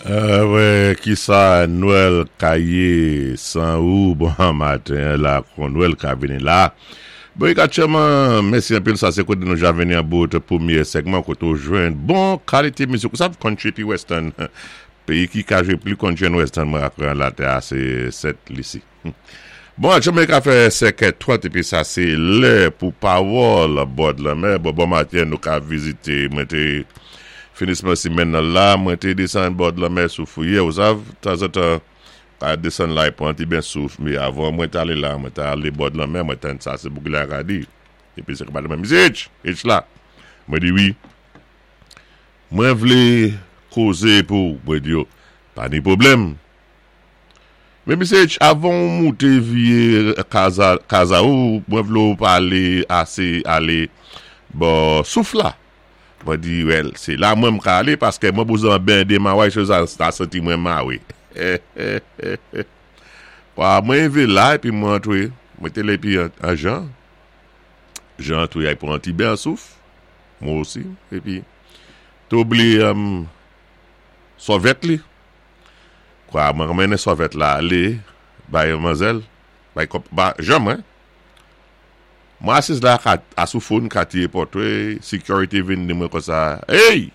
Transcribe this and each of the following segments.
Wè kisa Nwèl ka yé ou bon maten an la kon Nwèl ka vini la Bon aktyèlman mèsi anpil sa sé koté nou ja vini an bout pwemyé sègman koté ou jwenn bon kalité mizik ou sav country épi western peyi ki ka jwé pli country and western mwen aprann latè a sé Sent Lisi. Bon aktyèlman li ka fè 5 è 30 epi sa se lè pou pawòl bòd lanmè. Bon bon maten nou ka vizite mwen te finisman simèn nan la mwen te desann bòd lanmè sou fouyè ou sav tanzantan ka desann la e pran ti ben souf me avan mwen t ale la mwen t ale bòd lanmè mwen tann sa se pou ki la ka di epi se ka mwen misye H H la mwen di wi mwen vle koze pou mwen di yo pa ni pwoblèm. Men misye H avan ou moute vye kaza kaza ou mwen vle ou pale ase ale bò souf la mwen di well se la mwen m ka ale paske mwen bouzen ben de maway se sa ta santi mwen mawe hehehehe kwa mwen rive la epi mwen antre mwen te la epi an jan jan antre ay pran ti ben an souf mwen osi epi te oubliye sòvèt li. Kwa mwen mennen sòvèt la ale bay manzèl, bay kòp, ba jan mwen. Mwen asiz la ka a sou fon katye Pòtwe, security vin di mwen konsa, Ey!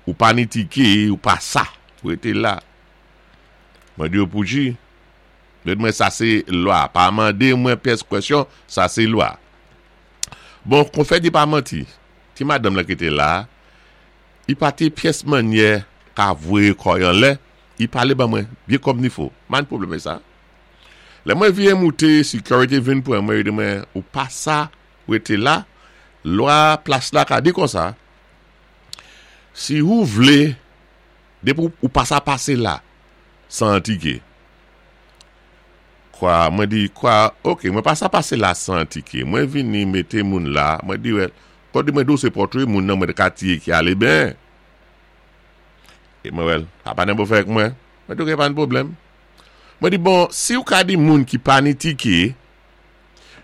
Ou pa ni tike, ou pa sa, rete la. Mwen di yo pou ji, yo di mwen sa se lwa, pa mande mwen pyès kwèsyon, sa se lwa. Bon, konfè di pa manti, ti madanm lan ki te la, I pa te pyès mannyè ka voye kò y anlè, i pale ban mwen byen kòmnifo. M pa gen pwoblèm avèk sa. Lè mwen vire moute, security vin pran mwen, yo di mwen, ou pa sa rete la, lwa plas la ka di konsa, si ou vle, depi ou pa sa pase la, san tike. Kwa, mwen di, kwa, ok, mwen pa sa pase la san tike. Mwen vini mete moun la, mwen di, well, Kòde mwen do se pòtre moun nan mwen ka tiye ki ale ben. E mwen wèl, sa pa nan bon fè ak mwen. Mwen di ok pa nan pwoblèm. Mwen di bon, si ou ka di moun ki pa ni tike,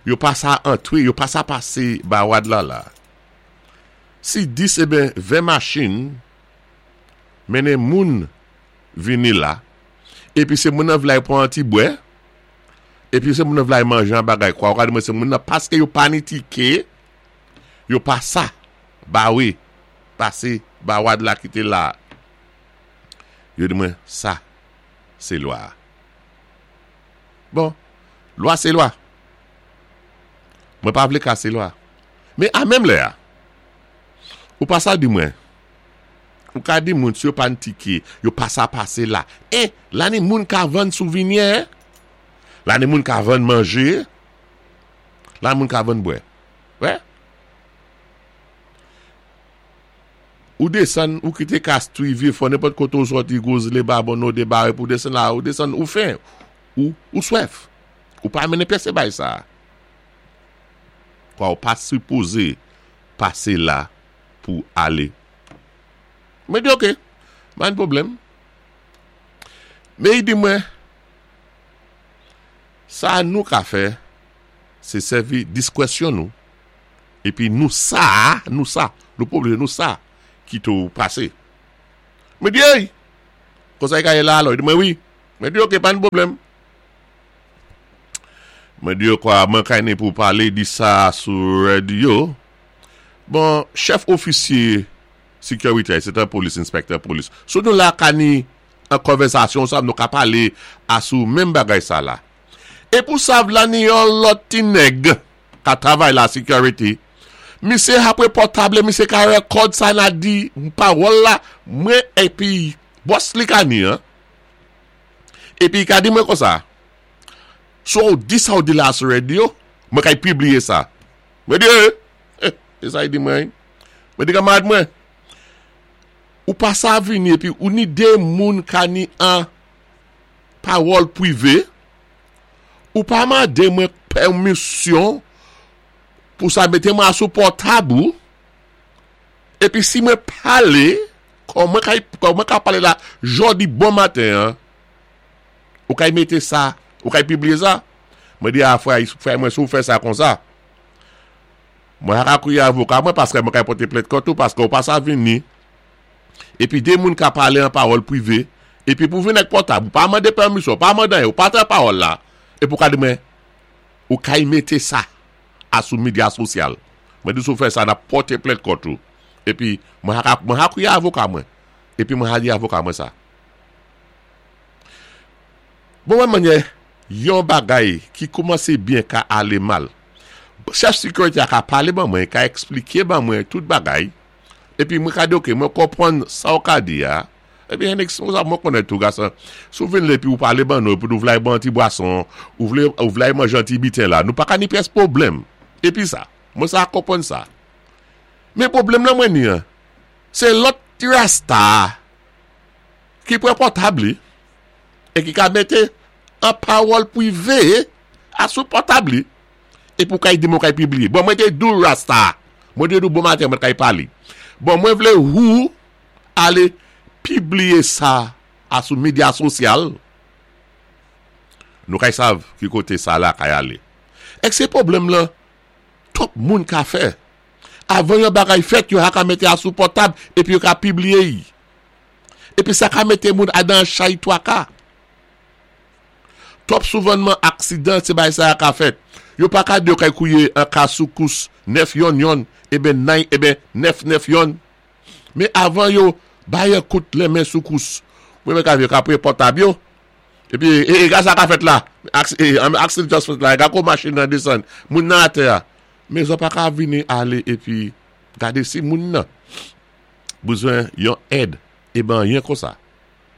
yo pa sa antre, yo pa sa pase bawad la la. Si 10 e ben 20 machin mennen moun vini la, epi se moun nan vle al pran an ti bwè, epi se moun nan vle al manje an bagay kwa, ou ka di mwen se moun nan paske yo pa ni tike, Yo pa sa bawe pase bawad la ki te la a. Yo di mwen sa se lwa a. Bon, lwa se lwa. Mwen pa vle kase lwa. Men a menm lè a, ou pa sa di mwen, ou ka di moun si yo pa n tike, yo pa sa pase la. E, la ni moun ka vann souvinyè, la ni moun ka vann manje, la ni moun ka vann bwè. Wè. Ou desann, ou kite Castries, Vieux-Fort, nenpòt kote ou sòti, Gozle, Babonneau, Debare pou desann la, ou desann, ou fen, ou, ou swèf. Ou pa mennen pyès bay sa a. Kwa ou pa sipoze pase la pou ale. Mwen di ok, pa gen pwoblèm. Men li di mwen, sa nou ka fè, Se sèvi diskwèsyon nou epi nou sa a, nou sa, nou pa oblije nou sa kite w pase. Mwen di ey! Konsa li ka ye la alò? Li di mwen wi. Mwen di ok pa gen pwoblèm. Mwen di yo kwa mwen ka ni pou pale di sa sou radyo. Bon, chèf ofisye sekirite a, se te polis, enspektè polis. Sou nou la ka ni an konvèsasyon sa nou ka pale a sou menm bagay sa la. E pou sav la ni yon lòt ti nèg ka travay la security misye apre pòtable misye ka record sa na di pawòl la mwen epi bòs li ka ni an epi li ka di mwen konsa si w di sa w di la sou radio mwen kay pibliye sa mwen di e e sa li di mwen mwen di kamarad mwen ou pa sa vini epi ou ni de moun ka ni an pawòl pwive, ou pa mande mwen pèmisyon pou sa mete mwen a sou pòtab ou, epi si mwen pale, kòm mwen ka, kòm mwen ka pale la jodi bon maten an, ou kay mete sa, ou kay pibliye sa, mwen di a frè, frè mwen si ou fè sa konsa, mwen a ka kriye avoka mwen paske mwen kay pote plent kont ou paske ou pa sa vini. Épi dé moun ka palé an pawòl pwivé, épi pou vin ak pòtab, ou pa mandé pèmisyon, ou pa mande anyen, ou pa tan pawòl la, épi ou ka di mwen, ou kay mété sa a sou medya sosyal. Mwen di si w fè sa n ap pòté plent kont ou. Épi mwen ha mwen ha kwiyé avoka mwen, épi mwen ha di avoka mwen sa. Bon wè manyè yon bagay ki koumansé byen ka alé mal. Chèf sikirité a ka palé ban mwen, ka ekspliké ban mwen tout bagay, Epi mwen ka di ok mwen konprann sa w ka di a, epi Henix konsa mwen konnen tou gason, si w vin la epi ou pale ban nou epi nou vle al bwè yon ti bwason, ou vle ou vle al manje yon ti biten la, nou pa ka ni pyès pwoblèm. Epi sa, mwen sa konprann sa. Men pwoblèm lan mwen ni an, se lòt ti rasta a ki pran pòtab li e ki ka mete an pawòl pwive a sou pòtab li. Epi ou kay di mwen kay pibliye. Bon mwen te di w rasta. Mwen te di w bon maten mwen kay pale. Bon mwen vle ou ale pibliye sa a sou medya sosyal. Nou kay sav ki kote sa la kay ale. Ek se pwoblèm lan twòp moun ka fè. Avan yon bagay fèt yo ha ka mete a sou pòtab epi yo ka pibliye y. Epi sa ka mete moun a dan chay twaka. Twòp souvannman aksidan se bagay sa a ka fèt. Yo pa ka di yo kay kouye an ka soukous 9 yonn yonn eben nay eben 9 9 yonn. Men avan yo bay an kout lenmen soukous mwen men ka yo ka pre pòtab yo. Epi e e ga sa ka fèt la. Aksidan just fèt la. E ga kou machin nan desann. Moun nan atè a. Men zò pa ka vini ale epi gade si moun nan bezwen yon èd eben anyen konsa.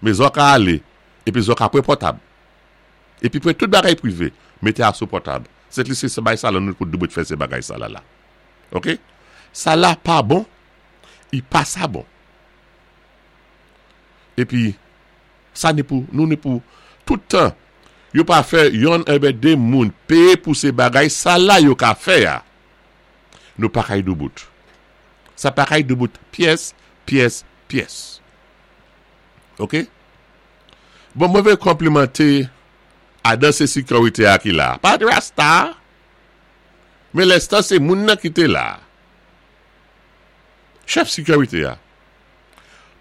Men zò ka ale epi zò ka pre pòtab. Epi pre tout bagay prive, mete a sou pòtab. Se li se bay sa la nou pou dwe fè se bagay sa la la. Ok? Sa la pa bon, i pa sa bon. Epi, sa ni pou, nou ni pou, tout tan, yo pa fè yonn enben de moun peye pou se bagay sa la yo ka fè a. Nou pa kay doubout. Sa pa kay doubout pyès, pyès, pyès. Ok? Bon mwen vle konplimante adan se security a ki la. Pa rasta. Men lenstan se moun nan ki te la. Chèf security a.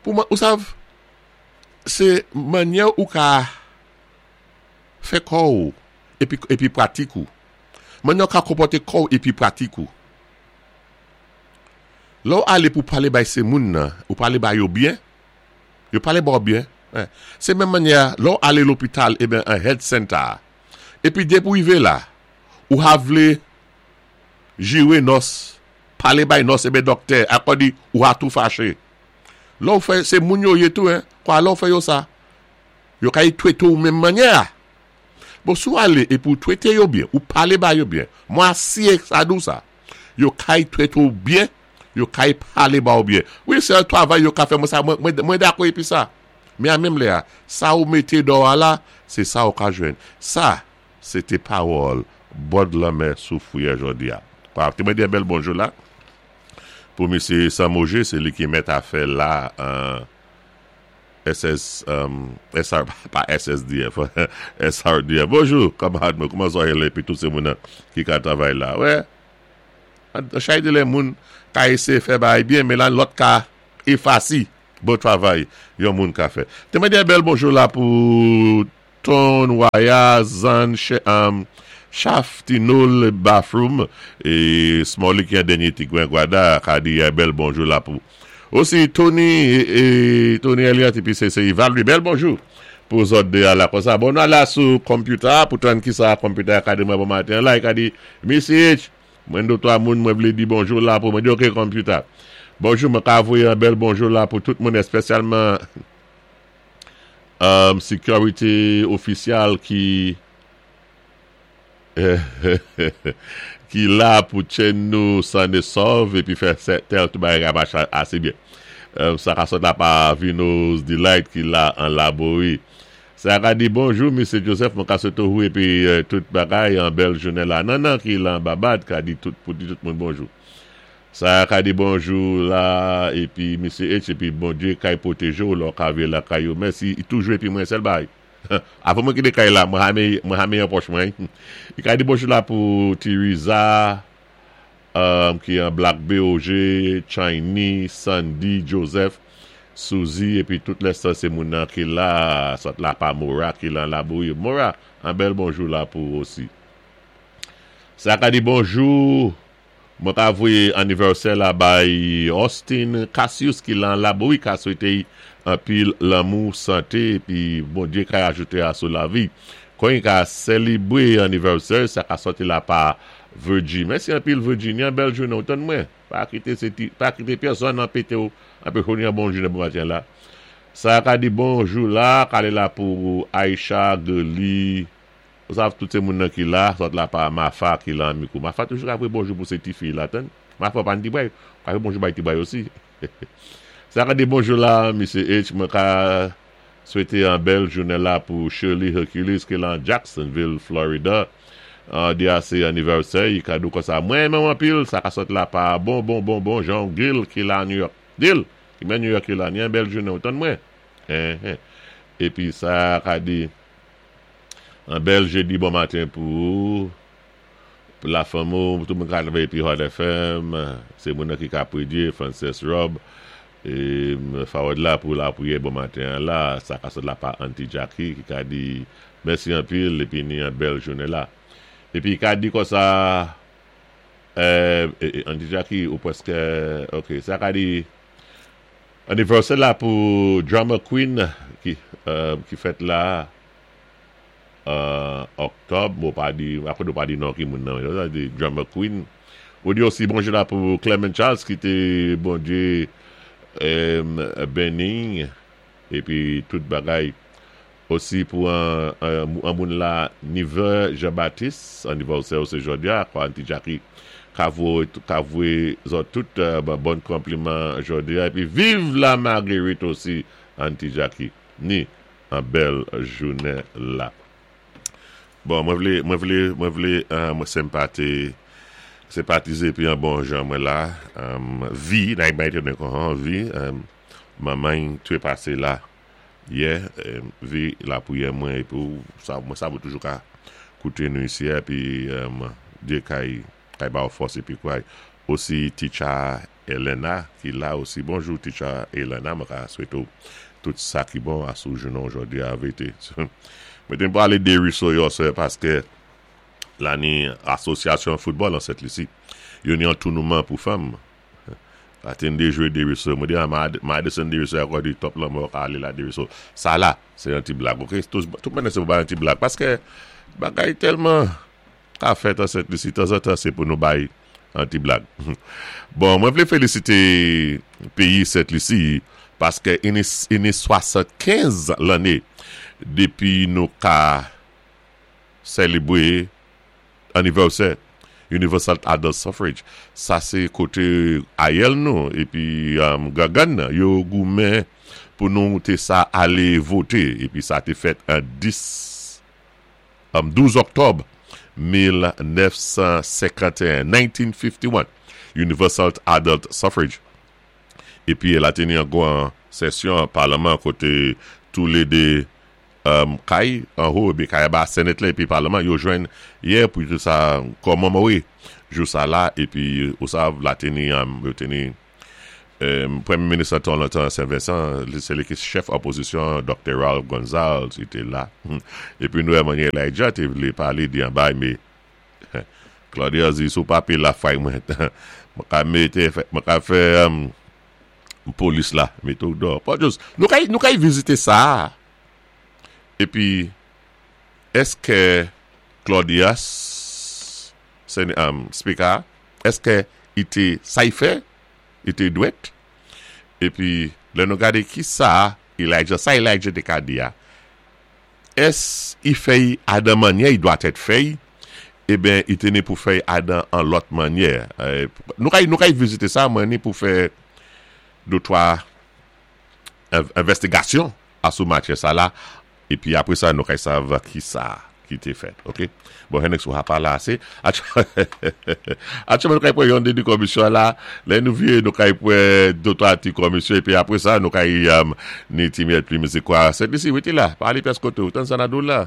Pou mwen, ou sav, se manyè ou ka fè kò ou epi epi pratik ou. Manyè ou ka konpòte kò ou epi pratik ou. Lè ou ale pou pale bay se moun nan, ou pale bay yo byen, Yo pale ba w byen. Se menm mannyè a, lè w ale lopital eben an health center a, epi depi w rive la, ou ha vle jire nòs, pale bay nòs eben dòktè, akò di ou ha tou fache. Lè w fè, se moun yo ye tou hein, kwa lè w fè yo sa, yo ka y twete w menm mannyè a. Bon si w ale epi w twete yo byen, ou pale ba yo byen, mwen asiye sa di w sa, yo kay twete w byen, Yo kay pale ba w byen. Wi se yon travay yo ka fè mwen sa mwen dakò epi sa. Men a menm lè a sa ou mete dò a la se sa ou ka jwenn. Sa se te pawòl bòd lanmè sou fouyè jodi a. Kwa te mwen di yon bèl bonjou la pou mesye Samoje se li ki mèt afè la an SS SR pa SSDF SRDF. Bonjou kanmarad mwen kouman sa w ye la epi tout se moun ki ka travay la. Wè. Chay de lè moun ka eseye fè bagay byen men lan lòt ka efasi bon travay yon moun ka fè. Te mande yon bèl bonjou la pou Ton Waya Zann Chaf Tinol Bathroom e Smolly ki an dènye ti gwen Gwada ka di yon bèl bonjou la pou osi Tony e Tony Elliott epi se se Valerie bèl bonjou pou zòt 2 a la konsa bon nou al la sou computer a pou tann kisa computer a ka di mwen bon maten an la e ka di Missy H Mwen de 3 moun mwen vle di bonjou la pou mwen di ok computer. Bonjou mwen ka voye yon bèl bonjou la pou tout moun espesyalman um, security official ki ki la pou tchen nou san e sòv epi fè tèl tout bagay ka mache ase byen. Um, sa ka sot la pa Vino's Delight ki la an Laborie. Sa ka di bonjou Mesye Joseph mwen ka swete w epi tout bagay an bèl jounen la Nannan ki lan Babad ka di tout pou di tout moun bonjou Sa ka di bonjou la epi Mesye H epi Bondye kay pwoteje w lè w ka vye lakay ou mèsi toujou epi mwen sèl bagay avan mwen kite kay la mwen ha mwen ha meyan pòch mwen li ka di bonjou la pou Ti Riza ki an Black BOG Chiny Sandy Joseph. Suzy épi tout lès sé moun nan ki la, sòt la pa Mora ki lan Labouyi. Mora, an bèl bonjou la pou ou osi. Sa ka di bonjou, mwen ka voyé anivèsè la bay Austin Cassius ki lan Labouyi ka swété anpil lanmou, santé épi Bondyé ka ajouté a sou lavi. Kon i ka sélébwé anivèsè, sa ka sòti la pa Virgie. Mèsi anpil Virginia, bèl jounen ou tann mwen. Pa kité sé ti, pa kité pèsòn anpété ou anpéché ou ni an bon jounen pou maten la. Sa ka di bonjou la, kale la pou Aisha, Geli, ou sav tout sé moun nan ki la, sòt la pa Mafa ki lan mikou. Mafa toujou ka voyé bonjou pou sé ti fi la tann. Mafa pa ni ti bray, ka voyé bonjou bay ti bray osi. Sa ka di bonjou la, Misye H, mwen ka swété an bèl jounen la pou Shirley Hercules ki lan Jacksonville, Florida. Di a sé anivèsè i kado konsa. Mwen renmen ou anpil, sa ka sòt la pa bon bon bon bon Jean Gil ki la New York. Gil, ki men New York ki la, ni an bèl jounen ou tann mwen. Enhen. Épi sa ka di an bèl jedi bon maten pou ou. Pou la fanmi ou, tout moun ka travay épi Hot FM, sé moun nan ki ka prédye, Frances Rob, é forward la pou lapriyè bon maten an la, sa ka sot la pa Auntie Jackie ki ka di mèsi anpil épi ni an bèl jounen la. Épi ka di konsa Auntie Jackie ou prèskè ok, sa ka di anivèsè la pou Drama Queen ki ki fèt la Oktòb, mwen pa di, apre nou pa di non ki moun nan, yo di Drama Queen. Ou di osi bonjou la pou Clement Charles ki té Bondyé beni épi tout bagay. Osi pou an moun la Niver Jean Baptiste, anivèsè ou sé jòdi a, kwa Auntie Jackie ka voyé zòt tout bon konpliman jòdi a. Épi viv la Marguerite osi Auntie Jackie. Ni an bèl jounen la. Bon mwen vlé mwen vlé mwen vlé mwen senpate senpatize epi an bon jan mwen la vi nan bay tèt mwen kon vi manman trepase la yè vi lapriyè mwen epi ou sa mwen sa ou toujou ka koute nou isi a epi Dye kay kay ba ou fòs epi kouray osi teacher Elena ki la osi bonjou teacher Elena mwen ka swete w tout sa ki bon a sou jounen w jodi a vete mwen te pale de Russo yo sè paske la ni asosyasyon foutbòl an Sent Lisi yo ni yon tounouman pou fanm la te de jwe de Russo mwen di a Madison de Russo akò di top lanmò ka ale la de Russo sa la se yon ti blag ok tout mwen se pou bay yon ti blag paske bagay tèlman Ka fèt an Sent Lisi tanzantan se pou nou bay an ti blag. Bon mwen vle felisite peyi Sent Lisi paske ini 75 lanne depi nou ka selebre anivèsè Universal Adult Suffrage sa se kote ayèl nou epi gangann nan yo goumen pou nou te sa ale vote epi sa te fèt an 10 12 Oktòb 1951, 1951, Universal Adult Suffrage, epi el ateni an gwan sesyon palman koté tou lé 2 kay, anwo epi kay anba, Senate la epi palman, yo jwenn yè pou yo sa kòmemore jou sa la, epi ou sav la teni, yo teni. Premye minis lan tan lontan Sen Vensan, se li ki chèf opozisyon an, Doktè Ralph Gonzales, li te la. Epi nou wè manyè Elijah te vle pale di anba me Claudia di si w pa peye la fray mwen, mwen ka mete, mwen ka fè polis la mete w dò. Bon just, nou ka nou ka vizite sa a. Epi èske Claudias, Speaker a, èske i te sa i fè? Li te dwèt. Epi, lè nou gade ki sa Elijah, sa Elijah te ka di a, ès i fè i adan mannyè i dwa tèt fè i? Eben, i te ni pou fè i adan an lòt mannyè. Nou ka, nou ka i vizite sa, mwen ni pou fè de twa envèstigasyon asou matyè sa la. Epi apre sa nou kay sav kisa ki te fèt ok bon Hennex ou ha pale ase Aktyèlman nou kay pran yon de 2 kòmisyon la lè nou vire nou kay pran 2 3 ti kòmisyon epi apre sa nou kay ni ti myèt pli mizik kwa Sent Lisi rete la pa ale pyès kote ou tann sa na di w la.